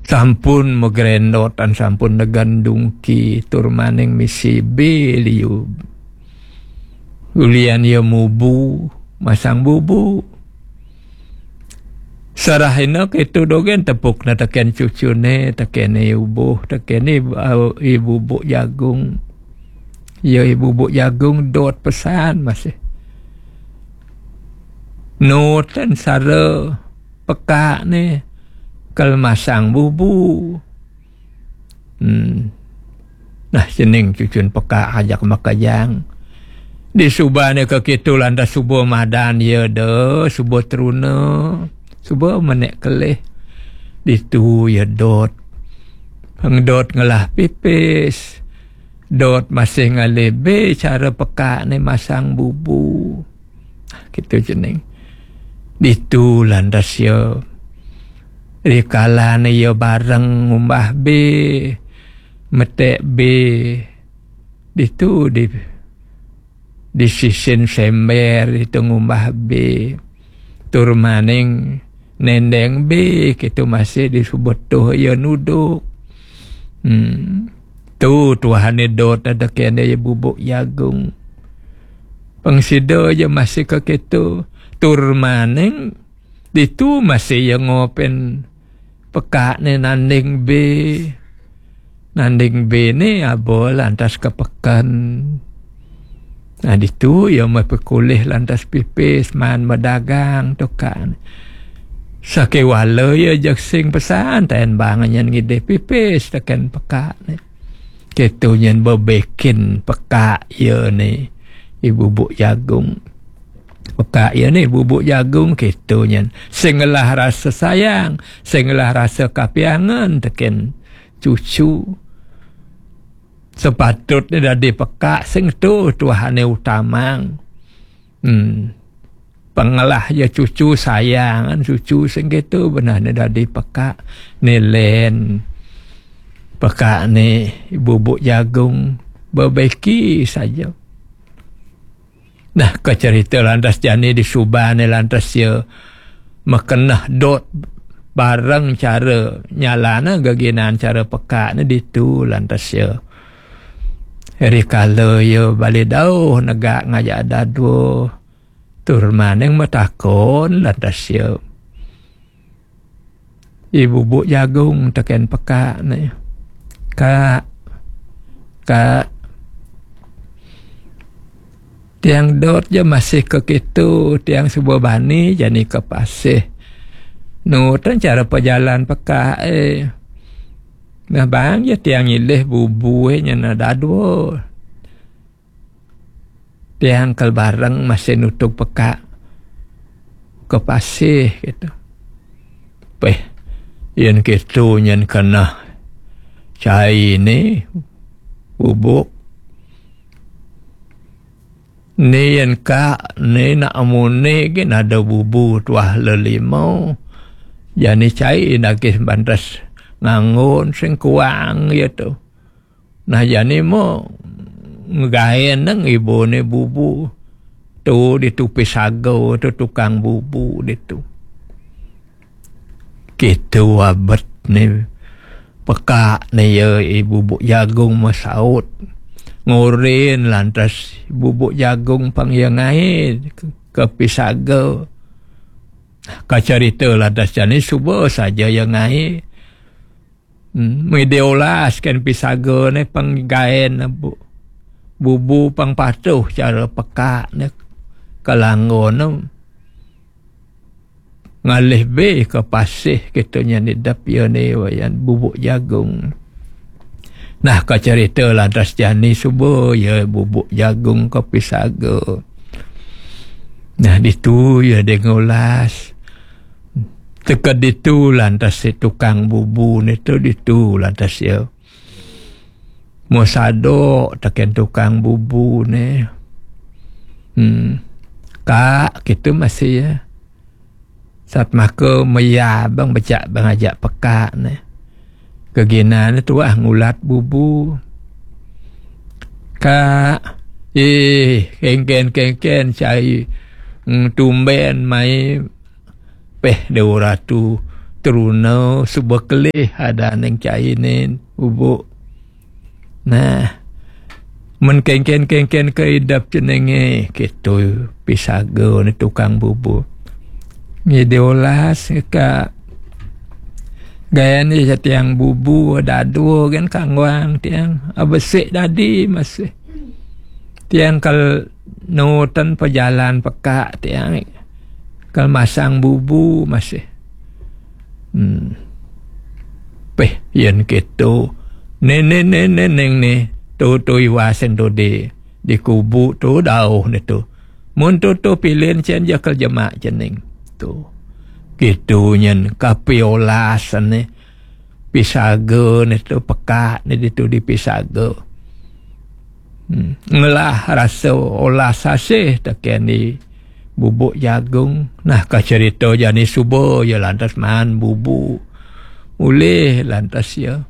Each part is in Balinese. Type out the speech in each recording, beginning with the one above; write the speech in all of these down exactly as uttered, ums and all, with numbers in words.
Sampun magrendotan, sampun negandungki, tur maning misi bé liu. Ulian ia mubu, masang bubu. Sarahina kéto dogén tepukna tekén cucuné, tekéné ubuh, tekéné, eh, i bubuk jagung. Ya, i bubuk jagung dot pesan masih. Nutan sara pekakné kal masang bubu. Hmm. Nah, cening cucun pekak ajak makejang. Disubané ka kéto lantas suba madan ia da, suba truna, suba menék kelih. Ditu ia dot. Pang dot ngelah pipis. Dot masih ngalih bé cara pekakné masang bubu. Kéto cening. Ditu lantas ia. Rikalané ia bareng ngumbah bé, meték bé. Ditu di, di sisin sember ditu ngumbah bé. Tur maning nendeng bé, kéto masih disuba tuh ia nuduk. Hmm. Tu tuahané dot ada kéné ia bubuk jagung. Pang sida ia masih ka kéto. Tur maning ditu masih ia ngopén pekakné nanding bé. Nanding béné aba lantas ka peken. Nah, ditu ia mapekulih lantas pipis maan madagang tukang. Sakéwala ia jeg sing pesan, taén bang nyén ngidih pipis tekén pekakné. Kéto nyén bebékin pekak ia né i bubuk jagung. Pekak ia né bubuk jagung kéto nyén. Sing ngelah rasa sayang, sing ngelah rasa kapiangan tekén cucu. Sepatutné dadi pekak sing tu tuahané utamang. Hmm. Pang ngelah ia cucu sayangan cucu sing kéto benehné dadi pekak. Né lén pekakné bubuk jagung bebéki saja. Nah, kacerita lantas jani disubané lantas ia makeneh dot bareng cara nyalana geginan cara pekakné ditu lantas ia. Rikala ia bali dauh negak ngajak dadua, tur maning matakon lantas ia. I bubuk jagung tekén pekakné. Kak, Kak, tiang dot ja masih ka kéto, tiang suba bani jani ka pasih. Nutan cara pajalan pekak, eh. Nah, bang ja tiang nyilih bubu, eh, nyana dadua. Tiang kal bareng masih nutug pekak ka pasih, kéto. Peh, yén kéto nyén keneh cai né bubuk. Né yén Kak, né nak amuné gén ada bubu tuah lelima. Jani cai nagih bantes nganggon sing kuang, ya tu. Nah, jani mo ngegaén nang ibuné bubu. Tu ditu Pisaga tu tukang bubu ditu. Kéto abet né pekak né ya i bubuk jagung masaut. Ngurin lantas bubuk jagung pang ya ngaé ka Pisaga. Kacarita lantas jani suba saja ya ngaé. Hmm, mé diolas kén Pisaga né pang gaén bu-, bubu pang patuh cara pekak né kalanggona. Ngalih bé ka pasih kéto nyén idep ya né wayan bubuk jagung. Nah, kacarita lantas jani suba ya bubuk jagung ka Pisaga. Nah, ditu ya dé ngolas. Teka ditu lantas si tukang bubu né tu ditu lantas ya. Mo sadok tekén tukang bubu né. Hmm. Kak, kéto masih ya. Satmaka maya bang becak bang ajak pekak né. Geginané tuah ngulat bubu. Kak, eh, kénkén-kénkén cai, mm, tumbén mai peh Dewa Ratu truna suba kelih adaning cainé bubuk. Nah, men kéngkén-kéngkén ka idep ceningé, kéto pisaga né tukang bubu. Ngidih olas ka gayané tiang bubu dadua gén kangguang tiang. Abesik dadi masih. Tiang kal nutan pejalan pekak tiang. Kal masang bubu masih. Hmm. Peh, yén kéto. Né, né, né, né, néng né. Tu, tu iwasin tu di, di kubu tu dauh né tu. Mun tu, tu pilin cén ja kal jemak cening. Tu. Kéto nyén kapi olasan né. Pisaga né tu pekak né ditu di pisaga. Hmm. Ngelah rasa olas asih tekén di bubuk jagung. Nah, ka cerita jani suba ya lantas maan bubu. Ulih lantas ya.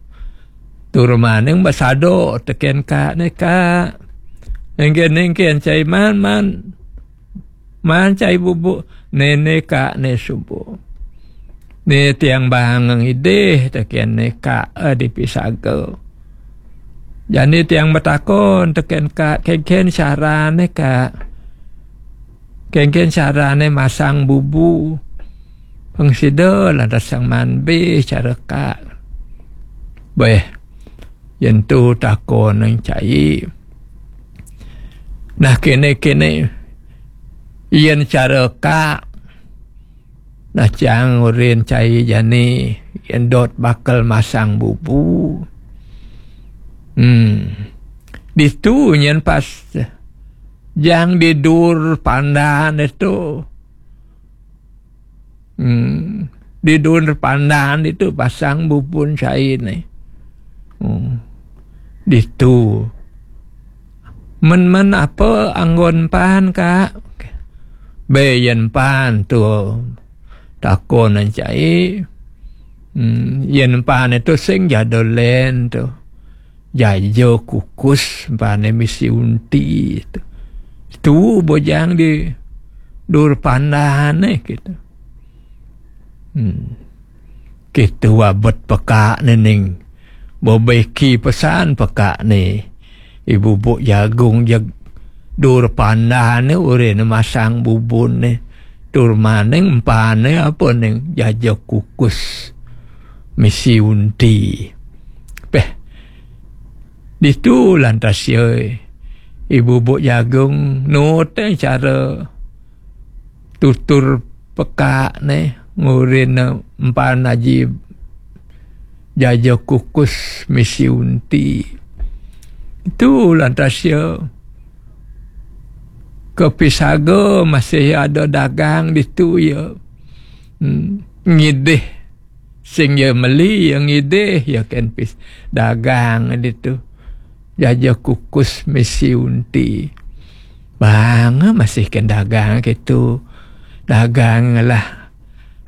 Tur maning basada tekén kak né, "Kak. Nengken-nengken cai maan, maan. Maan cai bubuk." "Né, né, kak né suba. Né tiang baang ngidih tekén né kak, eh, di pisaga. Jani tiang matakon tekén kak, kéngkén carané kak. Kéngkén carané masang bubu. Pang sida lantas sang maan bé cara kak." Béh, yén tu takon nang cai. Nah, kéné-kéné, yén cara kak, nah, cang urin cai jani, yén dot bakal masang bubu. Hmm. Ditu nyén pas jang di dur pandan itu. Hmm. Di dur pandan itu pasang bubun cai né. Hmm. Ditu. "Men-men apa anggon pan, Kak?" "Bé yén pan tu takon cai. Hmm, yén pan itu sing jada lén tu. Jaja kukus pané misi unti tu. Tu bojang di dur pandané gitu." Hmm. Kitu abet pekak né ning. Bebeki pesan pekak né. Ibu buk jagung jeg dur pandané urin masang bubun né. Tur maning empané apa ning jaja kukus misi unti. Peh, ditu lantas ya ibu buk jagung nuté cara tutur pekak né ngurin empan aji jaja kukus misi unti. Itu lantas ya kepisaga masih ada dagang ditu ya. Hmm, ngidih sing ya meli ya ngidih ya ken pis dagang ditu. Jaja kukus misi unti. Bang masih ken dagang gitu. Dagang lah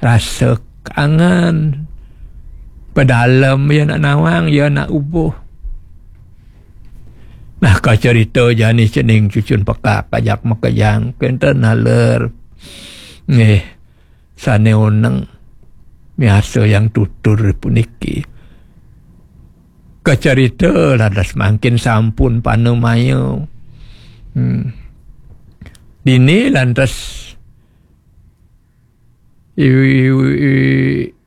rasa angan. Pedalem ya nak nawang ya nak ubuh. Nah, ka cerita jani cening cucun pekak kajak makejang kenten naler. Nggih, sane oneng miasa yang tutur puniki. Ka cerita lantas mangkin sampun panamaya. Hmm. Dini lantas i, i, i,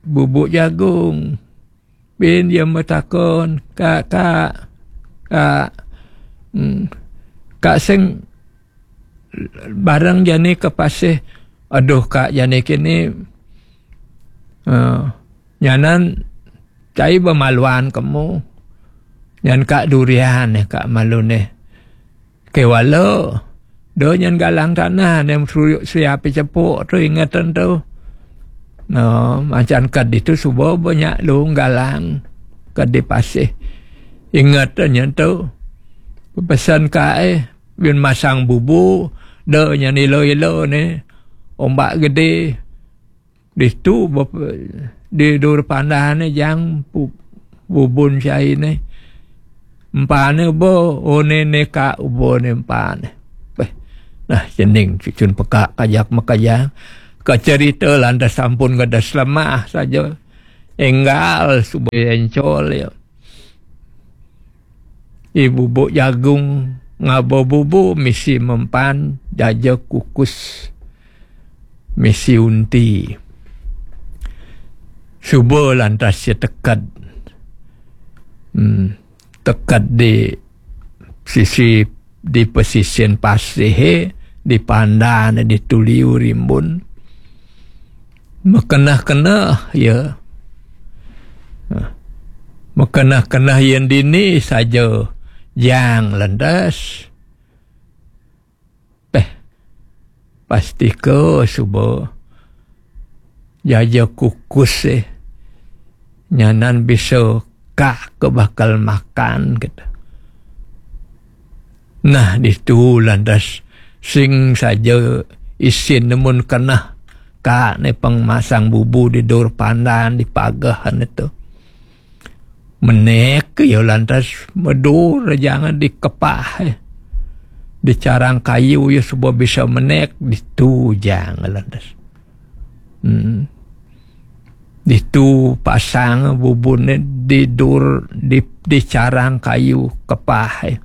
bubuk jagung. Bin dia matakon, "Kak, kak, kak, hmm, kak sing bareng jani ke pasih?" "Aduh, kak, jani kini, eh, nyanan cai bemaluan kemu. Nyan kak durian eh, kak malu neh." Kewala, do nyan galang tanah nem suyuk siapi cepuk tu ingatan tu. No, macan kad itu suba banyak lung galang kad di pasih. Ingat nyan tu. Pesan kae, bin masang bubu, do nyan ilo-ilo ne. Ombak gede. Ditu bep-, di dur pandan ne jang pu-, bubun cai ne. Empane bo, one ne ka ubo ne empane. Beh, nah, cening cucun pekak kajak makajang. Ka cerita lantas sampun gadas lemah saja. Énggal suba encol ya. I bubuk jagung ngaba bubu misi mempan, jaja kukus misi unti. Suba lantas ya teked. Hmm. Teked di sisi, di pesisir pasih, di pandan, di tuliu rimbun. Mekeneh-keneh ya. Nah, mekeneh-keneh ya dini saja jang lantas. Peh, pastika suba jaja kukus, eh. Nyanan bisa ka ke bakal makan, gitu. Nah, ditu lantas sing saja isin nemun keneh ka ne pang masang bubu di dur pandan, di pagehan itu. Menek ya lantas medur, jangan dikepah, eh. Di carang kayu ya suba bisa menek, ditu jang lantas. Hmm. Ditu pasang bubune di dur, di, di carang kayu kepah, eh.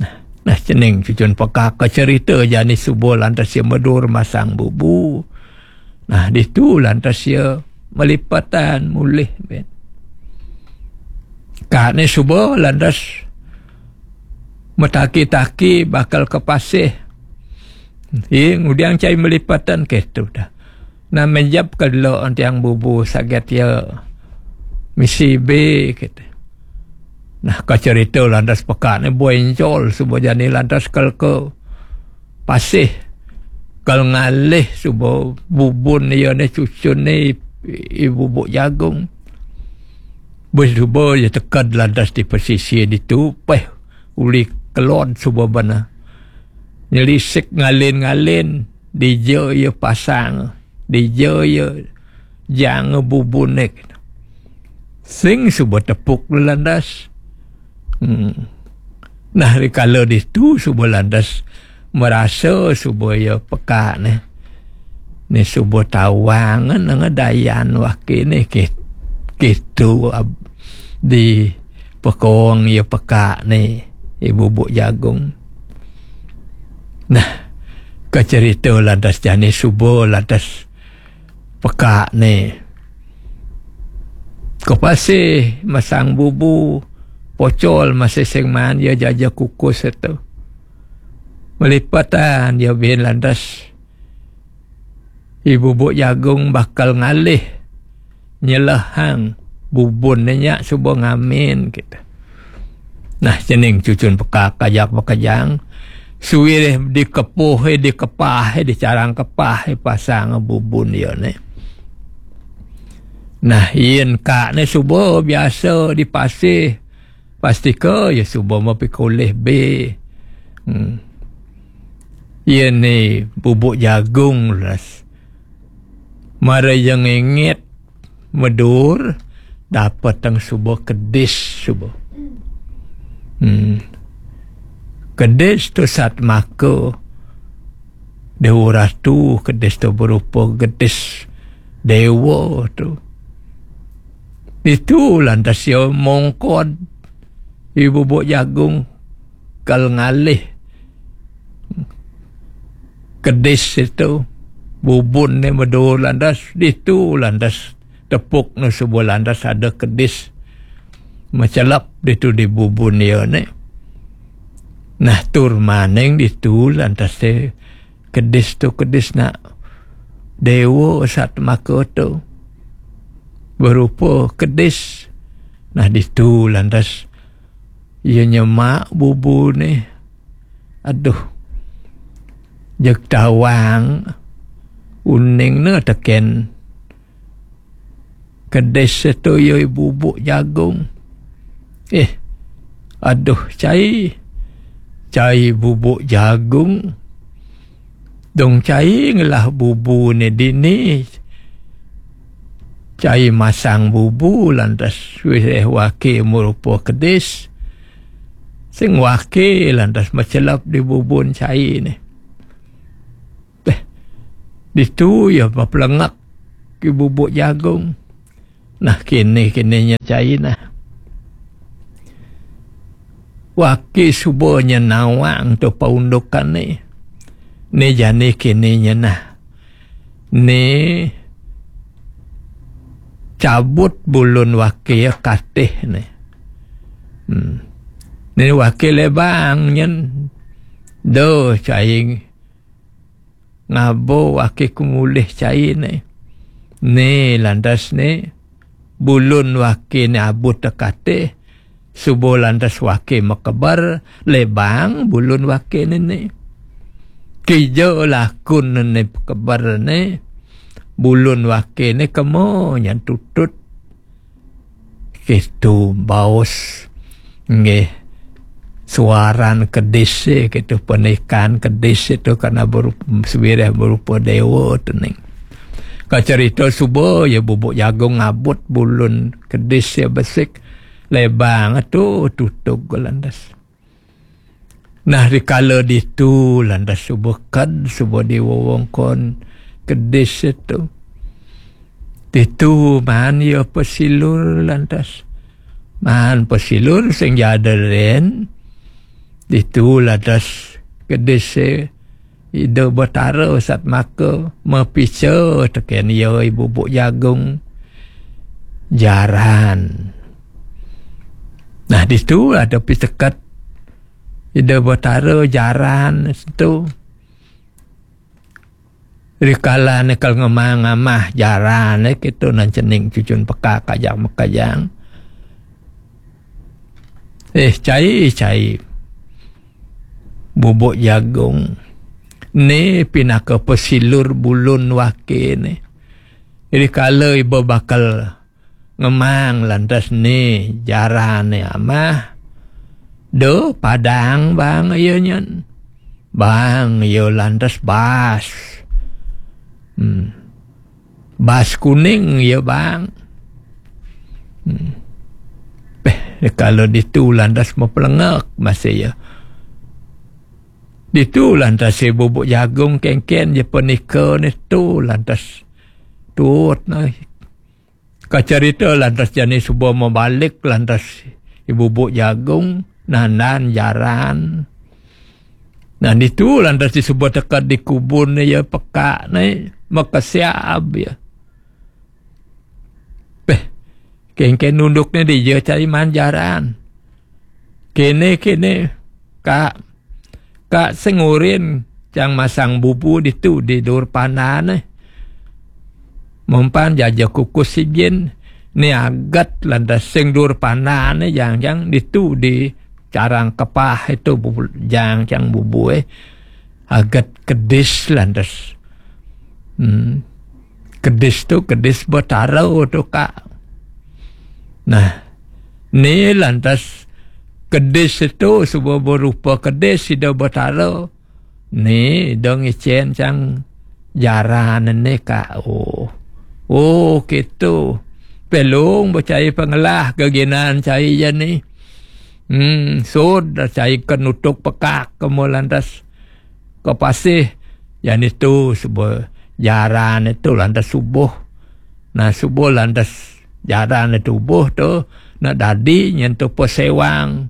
Nah, nah, cening cucun pekak ka cerita jani suba lantas ya medur masang bubu. Nah, ditu lantas ya melipatan mulih, ben. Ka ne suba lantas metaki-taki bakal ke pasih. Ih, ngudiang cai melipatan ketu dah. Nah, menjap ke dulu tiang bubu saget ya misi be, gitu. Nah, ka cerita lantas pekak ne boencol suba jani lantas kal ke pasih, kal ngalih suba bubun ya ne cucun ne i, i bubuk jagung. Bes suba ya teked lantas di pesisir ditu, peh uli kelod suba bana. Nyelisik ngalin-ngalin, dija ya pasang, dija ya jang bubune. Sing suba tepuk lantas. Hmm. Nah, rikala ditu suba lantas merasa suba ya pekak ne. Ne suba tawang nang dayan waki ne ki-, kitu ab-, di pekong ya pekak ne, i bubuk jagung. Nah, kacerita lantas jani suba lantas pekak ne ke pasih masang bubu, pocol masih sing maan ya jaja kukus itu. Melipatan ya bin lantas i bubuk jagung bakal ngalih nyelehang bubun ne nya suba ngamin, gitu. Nah, cening cucun pekak kajak bekejang. Suwirih dikepuh, eh, dikepah, eh, di carang kepah, eh, pasang bubun ya ne. Nah, yen ka ne suba biasa di pasih, pastika ya suba mapikulih be. Hmm. Yen ne bubuk jagung las. Mara ya ngengit medur, dapetang suba kedis suba. Hmm. Kedis tu satmaka Dewa Ratu, kedis tu berupa kedis dewa tu. Ditu lantas ya mongkod i bubuk jagung kal ngalih kedis itu, bubun ne medur lantas, ditu lantas tepuk ne suba lantas ada kedis mecelep ditu di bubun ya ne. Nah, tur maning ditu lantas te kedis tu kedis nak dewa satmaka tu berupa kedis. Nah, ditu lantas ya nyemak bubu ne. Aduh. Jeg tawang uning ne teken kedis setuju bubuk jagung. Eh, aduh, cai. Cai bubuk jagung. Dong cai ngelah bubu ne dini. Cai masang bubu lantas wis eh waki merupa kedis. Sing waki lantas mecelap di bubun cai ne. Beh, ditu ya pepelenggak i bubuk jagung. Nah, kini-kini nya cai nah. Waki suba nya nawang tu paundukan ni. Ni jani kini nya nah. Ni cabut bulun waki katih ni. Hmm. Ni waki lebang nyen. Doh cai ngabo waki kumulih cai ni. Ni lantas ni bulun waki ni abut tekatih. Suba lantas waki makeber, lebang bulun waki ni ni. Kija lakun ni pekeber ni, bulun waki ni kemo nyan tutut. Kitu baus. Nggih. Suaran kedis, eh, kitu penikan kedis itu karena berupa, sewireh berupa dewa tu ning. Kacerita suba ya bubuk jagung ngabut bulun kedis ya besik. Lebang tu tutug lantas. Nah, dikala ditu lantas suba ked, suba di wewengkon kedis itu. Ditu maan ya pesilur lantas. Maan pesilur sing jada len. Ditu lantas kedis Ida Betara satmaka mapica teken iya i bubuk jagung jaran. Nah, ditu ada piteket Ida Betara jaran tu. Rikala ne kal ngemang amah jaran ne kitu nan cening cucun peka kajang mekajang. Eh, cai, cai. Bubuk jagung. Ni pinaka pesilur bulun waki ni. Jadi kala iba bakal ngemang lantas ni jaran ni amah. Do padang bang iya nyan. Bang iya lantas bas. Hmm. Bas kuning iya bang. Hmm. Peh, kalau ditu lantas mepelengek masih ya. Ditu lantas si bubuk jagung kengken je penika ni tu lantas tut nah. Kacarita lantas jani suba mebalik lantas i bubuk jagung nandan jaran. Nah, ditu lantas di suba tekad di kubun ni ya pekak ni makasiab ya. Peh, kengken nunduk ni dia cari manjaran. Kene, kene, Kak. Kak sengurin cang masang bubu ditu di dur pandan eh. Mempan jaja kukus sijin ni agat lantas sing dur pandan eh jang-jang ditu di carang kepah itu bubu, jang-jang bubu eh. Agat kedis lantas. Hmm. Kedis tu kedis betara tu, Kak. Nah, ni lantas kedis tu suba berupa kedis sida betara. Ni dong icen cang jaran ni, Kak. Oh. Oh, kitu. Pelung becai pengelah keginan cai jani. Hmm, sud cai kenutuk pekak kemo lantas. Kepasih. Jani tu suba jaran itu lantas subuh. Nah, subuh lantas jaran itu subuh tu nak dadi nyentuh pesewang.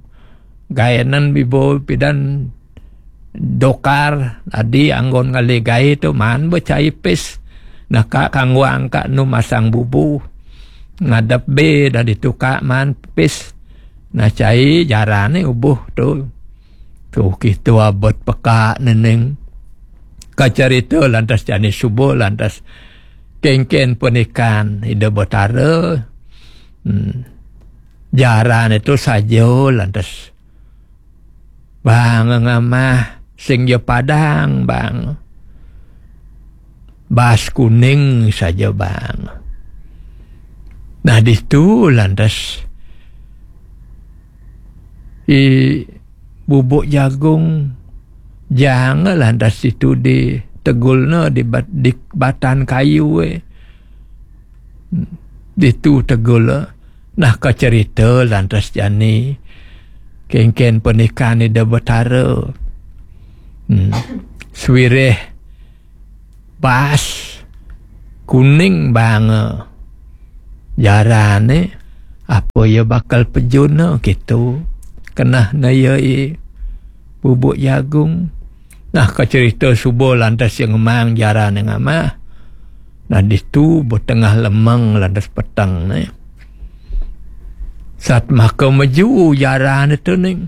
Gaenan bibo pidan dokar dadi anggon ngali gae tu man becai pis. Nah, kak kangguang kak nu masang bubu. Ngadep be dadi tu kak man pis. Nah, cai jaran ni ubuh tu. Tu kitu abot peka neneng. Kacarita lantas jani suba lantas kengken penikan Ida Betara. Hmm. Jaran itu saja lantas. Bang ngamah sing ja padang, bang. Bas kuning saja, bang. Nah, ditu lantas i bubuk jagung jang lantas ditu ditegulna di bat-, di batan kayu eh. Ditu tegul. Nah, kacerita lantas jani. Kengken penikan Ida Betara. Hmm. Swireh bas kuning banga. Jarane, apa iya bakal pejuna gitu. Kenah na iya i bubuk jagung. Nah, ka cerita suba lantas iya ngemang jarane ngamah. Nah, ditu betengah lemeng lantas peteng ne. Sat maka meju jarane tu ning.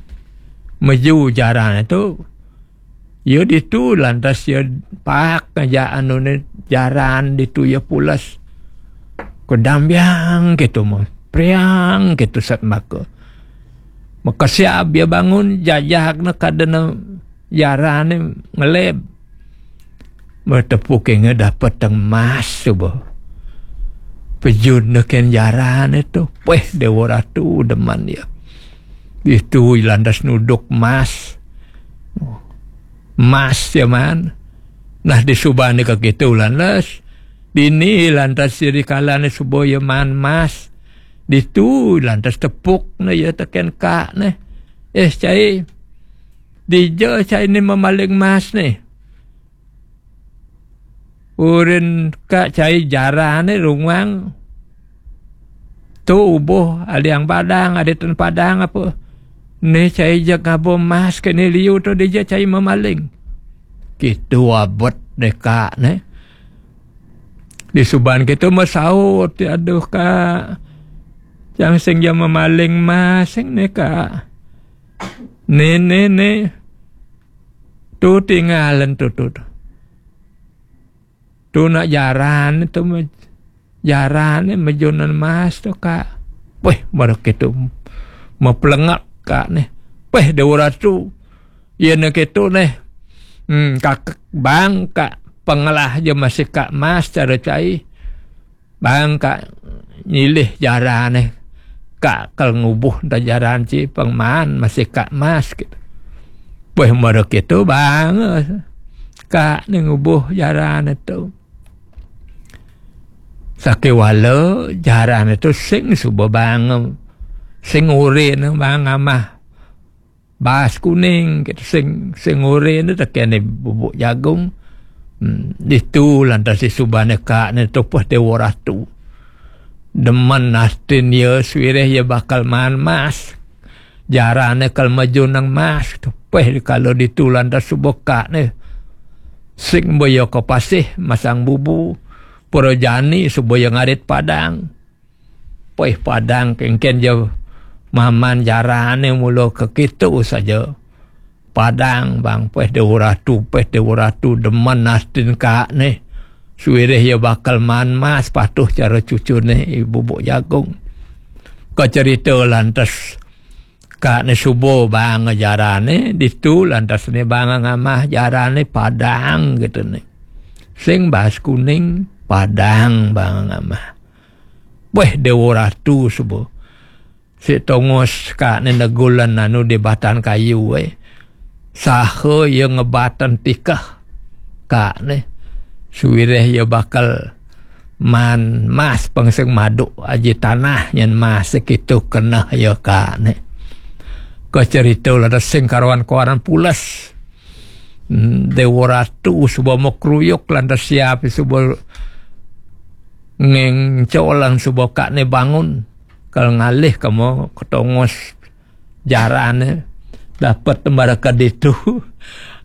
Meju jarane tu. Ya ditu lantas ya pak aja anu ne jaran ditu ya pulas. Kedambiang gitu mah. Priang gitu sat maka. Maka siap dia bangun jajak ne kadena jarane ngeleb. Metepuk inge dapat teng emas tu bah. Pejun neken jarane tu. Weh, Dewa Ratu deman dia. Itu lantas nuduk emas. Emas ya man. Nah, disubane ka kitu lantas. Dini lantas siri kalane suba ya man emas. Ditu lantas tepuk ne ya teken kak ne. Eh, cai. Dija cai ni memaling emas ni. Urin kak cai jarane rungwang. Tu ubuh aliang padang, aditan padang apa. Ni cai jak ngabo emas ke ni liu tu dija cai memaling. Kitu abet deka ne. Disuban kitu mesaut, aduh kak. Jang sing ja memaling emas sing ni kak. Ni, ni, ni. Tu tinggalan tu, tu, tu. Tu nak jaran tu me-, jaran ni mejunan emas tu kak. Weh, baru kitu mepelengak kak ni. Weh, Dewa Ratu. Iya ni kitu ni. Hmm, kak bang kak pengelah je masih kak emas cara cai. Bang kak nyilih jarane. Kak kal ngubuh da jaran ci pengman masih kak emas gitu. Weh, mara kitu bang. Kak ni ngubuh jarane tu. Sakewala jarane tu sing suba bang. Sing urin bang amah. Bas kuning, gitu. Sing, sing ore ni tekene bubuk jagung. Hmm, ditu lantas disubane kak ni tu peh Dewa Ratu. Demen astin ya suireh ya bakal man emas. Jarane kal maju nang emas tu peh kalau ditu lantas suba kak ni. Sing boya ke pasih masang bubu. Para jani suba ya ngarit padang. Peh padang kengken je maman jarane mula ke kitu saja. Padang bang peh Dewa Ratu, peh Dewa Ratu demen astin kak ni. Suireh ya bakal man emas patuh cara cucune i bubuk jagung. Ke cerita lantas kak ni suba bang jarane, ditu lantas ni bang ngamah jarane padang gitu ni. Sing bas kuning, padang bang ngamah. Weh, Dewa Ratu suba. Si tongos kak ni negulan anu di batan kayu, eh. Saha ya ngebatan tikah kak ni. Suireh ya bakal man emas pengseng maduk aji tanah nyen emas sekitu kenah ya kak ni. Ke cerita lada sing karuan-karuan pulas. Hmm, Dewa Ratu suba mau keruyuk lantas siap suba ngeng colang suba kak ni bangun. Kal ngalih kamu ketongos jarane dapat mereka ditu.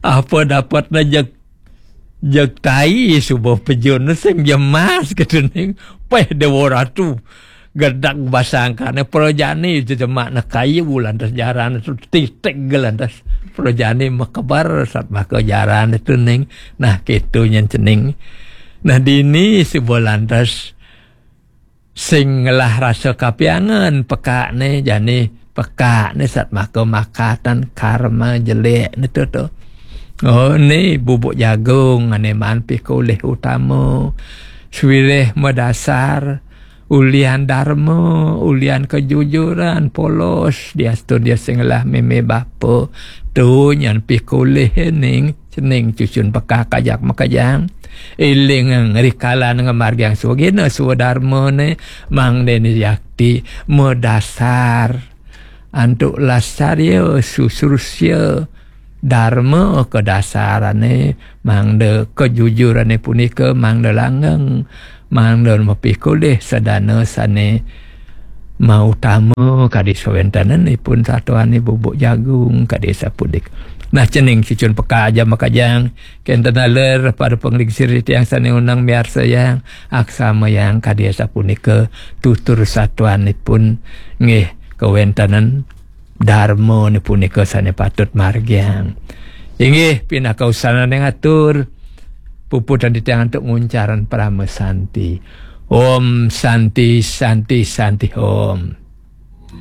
Apa dapat na jeg, jeg tai suba pejun sing jemas gitu ning. Peh Dewa Ratu. Gedak basangkane perojani itu jemak na kayu lantas jarane tu titik lantas perojani mekebar sat maka jarane tu ning. Nah, kitu nyen cening. Nah, dini suba lantas sing ngelah rasa kapiangan pekak ne jani pekak ne sat maka makatan karma jelek ne tu tu. Oh, ni bubuk jagung ane man pikulih utama. Suireh medasar ulian dharma, ulian kejujuran, polos, diastu dia sing ngelah meme bapa. Tu nyan pikulih ning cening cucun pekak kajak makajang. Iling ngerikalan ngemargiang suagina suadarma ne mang dene yakti medasar. Antuk lasarya susurusya darma kedasarane mangda kejujurane punika mangda langgeng. Mangda mapikul deh sadana sane mautama kadi sawéntenan ipun satuan bubuk jagung kadi sapudik. Nah, cening cucun peka aja makajang, kenten aler pada panglingsir tiang sane unang miarsayang, aksamayang kadi sapunika tutur satuanipun nggih kawéntenan darma punika sane patut margiang. Inggih pinaka usanane ngatur puputang titiang antuk nguncaran parama santi. Om Santi, Santi, Santi Om.